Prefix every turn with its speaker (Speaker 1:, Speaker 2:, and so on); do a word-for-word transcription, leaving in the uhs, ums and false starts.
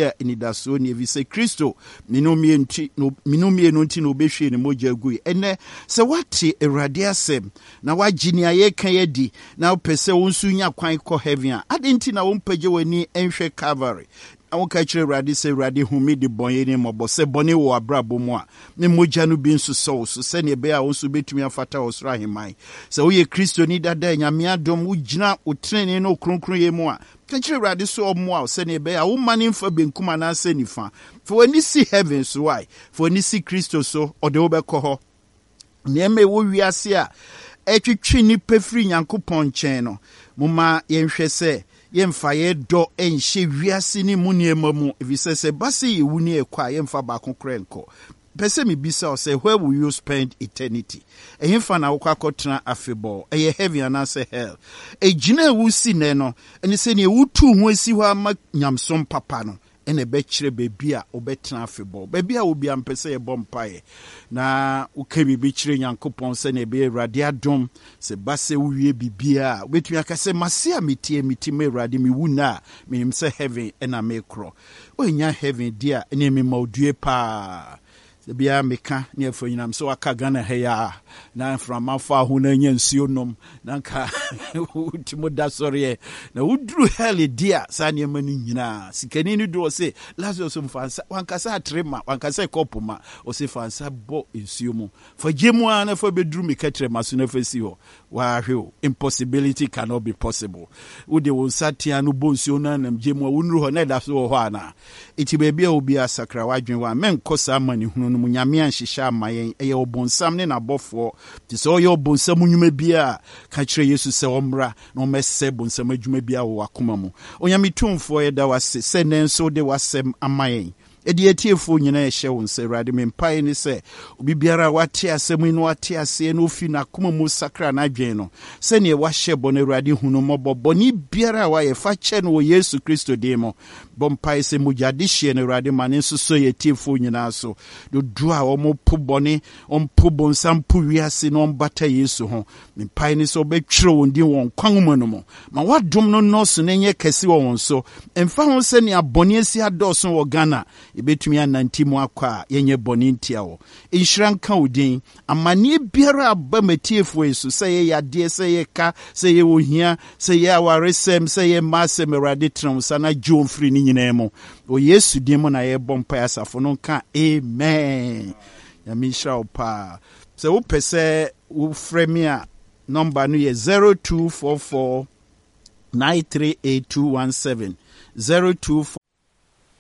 Speaker 1: a anidasoɔ ni, ɛfiri sɛ Kristo mene mmienu nti na obɛhwie ne mogya gui. Ɛnɛ sɛ woate Awurade asɛm na woagye nea yɛka yi adi na wopɛ sɛ wo nso nya kwan kɔ heaven a, adɛn nti na wompagye w'ani nhwɛ Calvary na woka kyerɛ Awurade sɛ, "Awurade, hu me de bɔne ne mmɔbɔ"? Sɛ bɔne wɔ abrabɔ mu a, ne mogya no bi nso sɔ wo so sɛneɛ ɛbɛyɛ a wo nso wobɛtumi afata wɔ soro ahemman. Sɛ woyɛ Kristoni dada, Nyame adom, wogyina wo tenene ne wo kronkronyɛ mu a, ka kyerɛ Awurade sɛ ɔmmoa wo sɛneɛ ɛbɛyɛ a woma ne mfa benkum anaasɛ nifa. Fa w'ani si heaven so wae, fa w'ani si Kristo so, ɔde wobɛkɔ hɔ. Nneɛma ɛwɔ wiase a ɛtwitwi nnipa firi Nyankopɔn nkyɛn no, momma yɛnhwɛ sɛ yɛmfa yɛ dɔ nhyɛ wiase ne mu nneɛma mu, ɛfiri sɛ sɛ ba sɛ yɛwu ne ɛkɔ a, yɛmfa baako korɛ nkɔ. Pɛ sɛ mebisa wo sɛ, where will you spend eternity? Ɛhefa na wokɔ akɔtena afebɔɔ? Ɛyɛ heaven anaasɛ hell? Ɛgyina a wosi nnɛ no ɛne sɛnea wotu ho asi hɔ ama nyamsom papa no ɛna ɛbɛkyerɛ baabi a wobɛtena afebɔɔ. Baabi a wobia mpɛ sɛ yɛbɔ mpaeɛ na woka biribi kyerɛ Nyankopɔn sɛnea ɛbɛyɛ Awurade adom sɛ ba sɛ wowie biribiaa a, wobɛtumi aka sɛ, "Mase a metie meti ma Awurade, mewu nna a, menim sɛ heaven ɛna mekorɔ." Woanya heaven di a, ɛne mema odue paa. Sɛ biara meka ne afa nyinam sɛ waka Ghana ha yi a na mframa fa ho na anya nsuo nom na nka wotumi da sɔreɛ na woduru hell di a, saa nneɛma no nyinaa sikani no du ɔse, "Lazarus, mfa nsa." Wankasa atere ma, wankasa kɔpo ma, ɔse, "Fa nsa bɔ nsuo mu, fa gye mu a na fa bɛduru me kɛtrɛ ma so na fa si hɔ." Waahwɛ o, impossibility cannot be possible. Wode wo nsa tea no bɔ nsuo no anam gye mu a, wonuru hɔ na ɛda so wɔ hɔ anaa? Ɛti baabi a obi asakra w'adwene wɔ a, mɛnkɔ saa amanehunu no mu. Nyame anhyehyɛ ama yɛn, ɛyɛ ɔbonsam ne n'abɔfoɔ. Nti sɛ ɔyɛ ɔbonsam nnwuma bi a, ka kyerɛ Yesu sɛ ɔmmra na ɔmmɛsɛ bonsam adwuma bi a wɔ w'akoma mu. Onyame tumfoɔ, yɛda w'ase sɛ nnɛ nso wode w'asɛm ama yɛn. Ɛde atiefoɔ nyinaa ɛhyɛ wo nsa. Awurade, me mpaeɛ ne sɛ obi biara a wate asɛm yi na wate aseɛ na ofi n'akoma mu sakra n'adwene no sɛneɛ wahyɛ bɔ no, Awurade, hu no mmɔbɔ. Bɔne biara a wayɛ, fa kyɛ no wɔ Yesu Kristo din mu. Bɔ mpaeɛ sɛ mogya de hyeɛ no, Awurade, ma ne nso so yɛ atiefoɔ nyinaa so. Dodoɔ a wɔpo bɔne, ɔmpo bonsam, po wiase na ɔmbata Yesu ho, mpae ne sɛ wobɛtwerɛ wɔn din wɔ nkwa nwoma no mu. Ma woadom no nnɔɔso na ɛnyɛ kɛse wɔ wɔn so. Ɛmfa ho sɛnea bɔne asi adɔɔso wɔ Ghana, yɛbɛtumi anante mu akɔ a yɛnyɛ bɔne ntia wɔ. Nhyira nka wo din. Amanneɛ biara aba matiefoɔ yi so, sɛ yɛyɛ adeɛ, sɛ yɛ ka, sɛ yɛ ohia, sɛ yɛ awaresɛm, sɛ yɛ mma asɛm, Awurade, tena wo nsa na gye wɔn firi ne nyinaa mu. Wɔ Yesu din mu na yɛbɔ mpae. Asafo no nka amen. Nyame nhyira wo paa. Sɛ wopɛ sɛ wofrɛ me a, number no yɛ zero two four four nine three eight two one seven, zero two